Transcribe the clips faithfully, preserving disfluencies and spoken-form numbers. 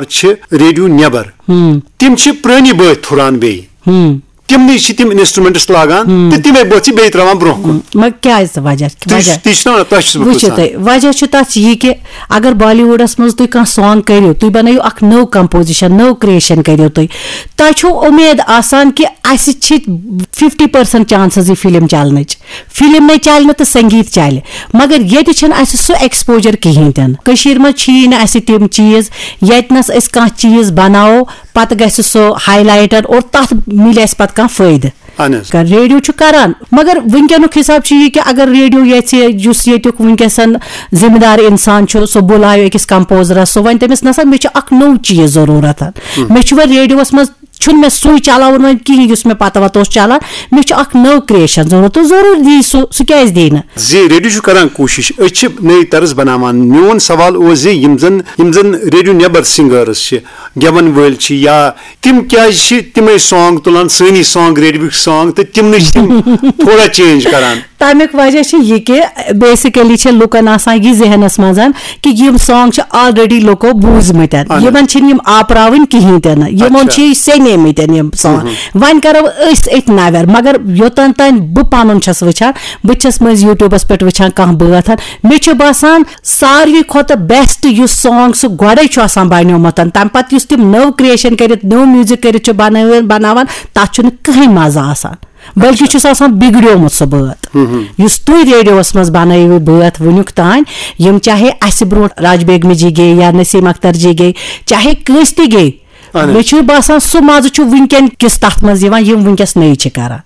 چھِ ریڈیو نیبر، تِم چھِ پرٲنی بٲتھ تھُران بیٚیہِ۔ تِمنٕے چھِ تِم انسٹرومنٹس لاگان تہٕ تِمے بٲتھ چھِ بیٚیہِ تراوان برونٛہہ کُن۔ مگر کیازِ وجہ؟ تُہۍ وجہ؟ تُہۍ چھِو نا، تۄہہِ چھُس بہٕ وٕچھِو پرژھان۔ تُہۍ، وجہ چھُ تَتھ یہِ کہِ اگر بالی وُڈَس منٛز تُہۍ کانٛہہ سانگ کٔرِو، تُہۍ بَنٲیِو اَکھ نٔو کمپوزیشن، نٔو کریشن کٔرِو تُہۍ، تۄہہِ چھُو اُمید آسان کہِ اَسہِ چھِ ففٹی پرسنٹ چانسز یہِ فلم چلنٕچ۔ فلم نے چلہِ نہٕ تہٕ سنگیت چلہِ، مگر ییٚتہِ چھِنہٕ اَسہِ سُہ ایکسپوجر کِہیٖنۍ تہِ نہٕ۔ کٔشیٖرِ منٛز چھِیی نہٕ اَسہِ تِم چیٖز، ییٚتہِ نَس أسۍ کانٛہہ چیٖز بَناوو، پَتہٕ گژھِ سُہ ہائی لائٹن اور تَتھ مِلہِ اَسہِ پَتہٕ کانٛہہ فٲیدٕ۔ اہن حظ۔ کر-، ریڈیو چھُ کران، مگر وٕنکیٚنُک حساب چھُ یہِ کہِ اگر ریڈیو یژھِ، یُس ییٚتیُک وٕنکیٚسن ذمہٕ دار انسان چھُ، سُہ بُلایو أکِس کمپوزرس، سُہ وَنہِ تٔمِس، "نسا، مےٚ چھُ اکھ نوٚو چیٖز ضروٗرت۔ مےٚ چھُ وۄنۍ ریڈیوس منٛز، چھُنہٕ مےٚ سُے چلاوُن وۄنۍ کِہیٖنۍ یُس مےٚ پتہٕ وتہٕ اوس چلان، مےٚ چھُ اکھ نٔو کریشن ضروٗرت"، تہٕ ضروٗر دی سُہ، سُہ کیازِ دی نہٕ؟ زِ ریڈیو چھُ کران کوٗشش، أسۍ چھِ نٔے طرز بناوان۔ میون سوال اوس زِ یِم زن، یِم زن ریڈیو نیبر سنگرز چھِ، گٮ۪وَن وٲلۍ چھِ، یا تِم کیٛازِ چھِ تِمَے سانگ تُلان، سٲنی سانگ، ریڈیوٕکۍ سانگ، تہٕ تِمنٕے چھِ تِم تھوڑا چینج کران؟ تَمیُک وجہ چھُ یہِ کہِ بیسیکلی چھِ لُکن آسان یہِ ذہنس منٛز کہِ یِم سانگ چھِ آلریڈی لُکو بوٗزمٕتۍ، اہن۔ یِمن چھِنہٕ یِم آپراوٕنۍ کِہیٖنۍ تہِ نہٕ، یِمو اچھا۔ چھِ یہِ سیٚنیمٕتۍ یِم سانگ۔ ہم۔ وۄنۍ کرو أسۍ أتھۍ نویر، مگر یوٚتن تام بہٕ پنُن چھَس وٕچھان، بہٕ تہِ چھَس مٔنٛزۍ یوٗٹیوٗبس پٮ۪ٹھ وٕچھان کانٛہہ بٲتھ، مےٚ چھُ باسان ساروی کھۄتہٕ بیسٹ یُس سانگ سُہ گۄڈے چھُ آسان بنیومُت، تمہِ پتہٕ یُس تِم نٔو کریشن کٔرِتھ، نٔو میوزک کٔرِتھ چھِ بنٲوِتھ، بناوان، تتھ چھُنہٕ کٕہٕنۍ مزٕ آسان، بلکہِ چھُس آسان بگڑیومُت سُہ بٲتھ۔ یُس تُہۍ ریڈیوس منٛز بنٲوِو بٲتھ وُنیُک تام، یِم چاہے اسہِ برونٛٹھ راج بیگمہِ جی گے یا نسیم اختر جی گے، چاہے کٲنٛسہِ تہِ گے، اہن حظ۔ مےٚ چھُ باسان سُہ مزٕ چھُ وٕنکیٚن کِس تتھ منٛز یِوان، یِم وٕنکیٚس نٔے چھِ کران۔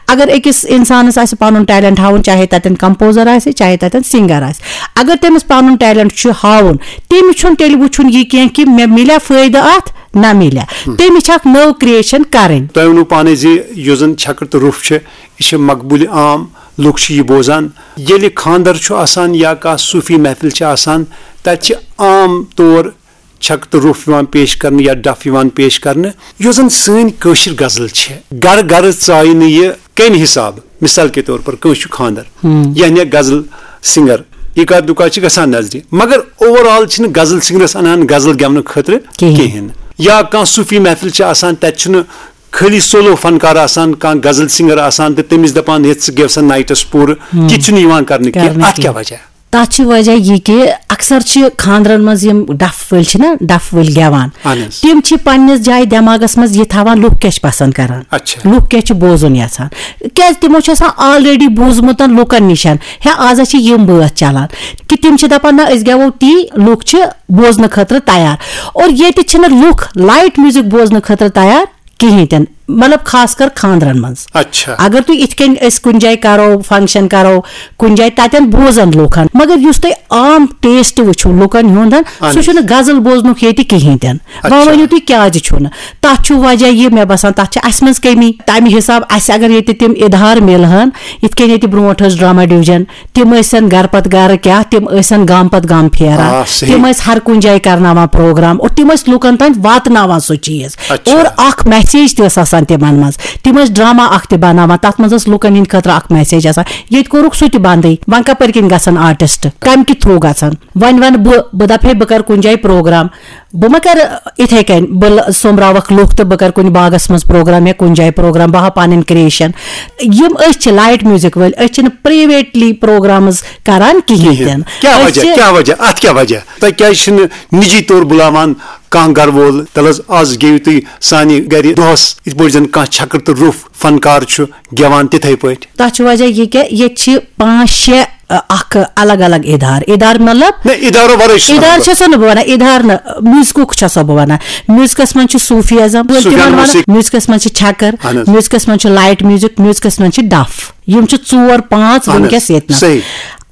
اگر أکِس انسانس آسہِ پنُن ٹیلنٹ ہاوُن، چاہے تتٮ۪ن کمپوزر آسہِ، چاہے تتٮ۪ن سنگر آسہِ، اگر تٔمِس پنُن ٹیلنٹ چھُ ہاوُن، تٔمِس چھُنہٕ تیٚلہِ وٕچھُن یہِ کینٛہہ کہِ مےٚ مِلیٛا فٲیدٕ اتھ، نہ مِلیٛا۔ تٔمِس چھِ اکھ نٔو کریشن کرٕنۍ۔ تۄہہِ ووٚنوُ پانے زِ یُس زن چھکر تہٕ روٚف چھِ، یہِ چھِ مقبوٗل عام، لُکھ چھِ یہِ بوزان۔ ییٚلہِ خانٛدر چھُ آسان یا کانٛہہ صوٗفی محفل چھِ آسان، تتہِ چھِ عام طور چھکہٕ تہٕ روٚف یِوان پیش کرنہٕ یا ڈف یِوان پیش کرنہٕ۔ یۄس زن سٲنۍ کٲشِر غزل چھِ، گرٕ گرٕ ژایہِ نہٕ یہِ کمہِ حسابہٕ، مثال کے طور پر کٲنٛسہِ چھُ خانٛدر، ہم۔ یعنی غزل سنگر اکا دُکا چھِ گژھان نظرِ، مگر اوور آل چھِنہٕ غزل سنگرس انان غزل گٮ۪ونہٕ خٲطرٕ کِہیٖنۍ۔ کِہیٖنۍ۔ یا کانٛہہ صوٗفی محفل چھِ آسان، تتہِ چھُنہٕ خٲلی سولو فنکار آسان، کانٛہہ غزل سنگر آسان تہٕ تٔمِس دپان، "یتھ ژٕ گٮ۪و سا نایٹس پوٗرٕ"، ہم۔ تہِ چھُنہٕ یِوان کرنہٕ کینٛہہ۔ کرنہٕ اتھ کینٛہہ۔ کیٛاہ وجہ؟ تَتھ چھِ وجہ یہِ کہِ اکثر چھِ خانٛدرن منٛز یِم ڈَف وٲلۍ چھِ نا، ڈَف وٲلۍ گٮ۪وان، اہن حظ۔ تِم چھِ پننِس جایہِ دٮ۪ماغس منٛز یہِ تھاوان لُکھ کیٛاہ چھِ پسنٛد کران، اچھا۔ لُکھ کیٛاہ چھِ بوزُن یژھان، کیٛازِ تِمو چھُ آسان آلریڈی بوٗزمُت لُکن نِش، ہے، آز ہا چھِ یِم بٲتھ چلان، کہِ تِم چھِ دپان، نہ، أسۍ گٮ۪وو تی، لُکھ چھِ بوزنہٕ خٲطرٕ تیار۔ اور ییٚتہِ چھِنہٕ لُکھ لایٹ میوزک بوزنہٕ خٲطرٕ تیار کِہیٖنۍ تہِ نہٕ، مطلب، خاص کر خانٛدرن منٛز۔ اچھا۔ اگر تُہۍ یِتھ کٔنۍ أسۍ کُنہِ جایہِ کرو، فنکشن کرو، کُنہِ جایہِ، تتٮ۪ن بوزن لوٗکن۔ مگر یُس تُہۍ عام ٹیسٹ وٕچھِو لُکن ہُنٛد، اہن سُہ حظ۔ چھُنہٕ غزل بوزنُک ییٚتہِ کِہیٖنۍ تہِ نہٕ۔ اچھا۔ وۄنۍ ؤنِو تُہۍ کیازِ چھُنہٕ؟ تتھ چھُ وجہ یہِ، مےٚ باسان، تتھ چھِ اسہِ منٛز کٔمی۔ تمہِ حساب اسہِ اگر ییٚتہِ تِم ادارٕ مِلہٕ ہن، یِتھ کٔنۍ ییٚتہِ برونٛٹھ ٲس ڈرامہ ڈویژن، تِم ٲسۍ گرٕ پتہٕ گرٕ کیٛاہ، تِم ٲسۍ گامہٕ پتہٕ گامہٕ پھیران۔ آ، صحیح۔ تِم ٲسۍ ہر کُنہِ جایہِ کرناوان پروگرام اور تِم ٲسۍ لُکن تام واتناوان سُہ چیٖز۔ اچھا۔ اور اکھ میسیج تہِ ٲس آسان تِمن منٛز۔ تِم ٲسۍ ڈرامہ اکھ تہِ بناوان، تتھ منٛز ٲس لُکن ہٕنٛدِ خٲطرٕ اکھ میسیج آسان۔ ییٚتہِ کوٚرُکھ سُہ تہِ بندٕے۔ وۄنۍ کپٲرۍ کِنۍ گژھن آرٹسٹ؟ کمہِ کہِ تھرو گژھن؟ وۄنۍ ونہٕ بہٕ، بہٕ دپہٕ ہے بہٕ کرٕ کُنہِ جایہِ پروگرام، بہٕ ما کرٕ اِتھے کٔنۍ، بہٕ ل-، سوٚمبراوکھ لُکھ تہٕ بہٕ کرٕ کُنہِ باغس منٛز پروگرام یا کُنہِ جایہِ پروگرام، بہٕ ہاوٕ پنٕنۍ کریشن۔ یِم أسۍ چھِ لایٹ میوزک وٲلۍ، أسۍ چھِنہٕ پرایویٹلی پروگرامز کران کِہینۍ تہِ نہٕ۔ کیٛاہ أسۍ وجہ؟ چھِ کیٛاہ وجہ؟ اتھ کیٛاہ وجہ؟ تۄہہِ کیٛازِ چھِنہٕ نجی طور بُلاوان کانٛہہ گرٕ وول؟ تَلہٕ حظ، آز گیٚیِو تُہۍ سانہِ گرِ دۄہس، یِتھ پٲٹھۍ زن کانٛہہ چھکر تہٕ روٚف فنکار چھُ گٮ۪وان، تِتھے پٲٹھۍ۔ تَتھ چھُ وجہ یہِ کہِ ییٚتہِ چھِ پانٛژھ شےٚ، ا، اکھ الگ الگ ادارٕ۔ ادارٕ مطلب؟ نہ، ادارو ورٲے چھُس ادارٕ ونان بہٕ۔ چھَسو نہٕ بہٕ ونان، ادارٕ نہٕ، میوزکُک چھَسو بہٕ ونان۔ میوزکس منٛز چھُ صوٗفی ازم، صوٗفیانہ تِمن ونان، موسیقی۔ میوزکس منٛز چھِ چھکر، اہن حظ۔ میوزکس منٛز چھُ لایٹ میوزک، میوزکس منٛز چھِ ڈف۔ یِم چھِ ژور پانٛژھ اہن حظ، وٕنکیٚس ییٚتہِ نس۔ صحیح۔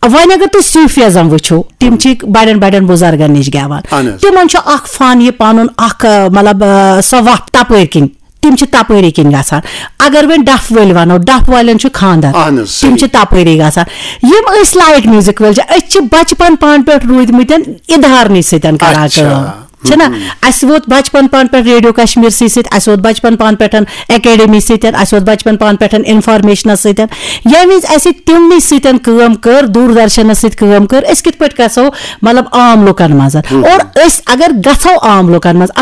وۄنۍ اگر تُہۍ صوٗفی ازم وٕچھِو، تِم چھِ بڑٮ۪ن بڑٮ۪ن بُزرگن نِش گٮ۪وان۔ اہن حظ۔ تِمن چھُ اکھ فن، یہِ پنُن اکھ، ا، مطلب، ا، سۄ وتھ تپٲرۍ کِنۍ۔ تِم چھِ تپٲری کِنۍ گژھان۔ اگر وۄنۍ ڈف وٲلۍ ونو، ڈف والٮ۪ن چھُ خانٛدر۔ اہن حظ، تِم صحیح۔ چھِ تپٲری گژھان۔ یِم أسۍ لایٹ میوزک وٲلۍ چھِ، أسۍ چھِ بچپن پانہٕ پٮ۪ٹھ روٗدمٕتٮ۪ن ادارنٕے سۭتۍ کران اچھا۔ کٲم۔ چھنا؟ اَسہِ ووت بچپن پان پٮ۪ٹھ ریڈیو کشمیرسٕے سۭتۍ، اَسہِ ووت بچپن پان پٮ۪ٹھ اکیڈمی سۭتۍ، اَسہِ ووت بچپن پان پٮ۪ٹھ انفارمیشنس سۭتۍ۔ ییٚمہِ وِزِ اَسہِ تِمنٕے سۭتۍ کٲم کٔر، دوٗردرشنس سۭتۍ کٲم کٔر، أسۍ کِتھ پٲٹھۍ گژھو، مطلب، عام لُکن منٛز؟ اور أسۍ اگر گژھو عام لُکن منٛز،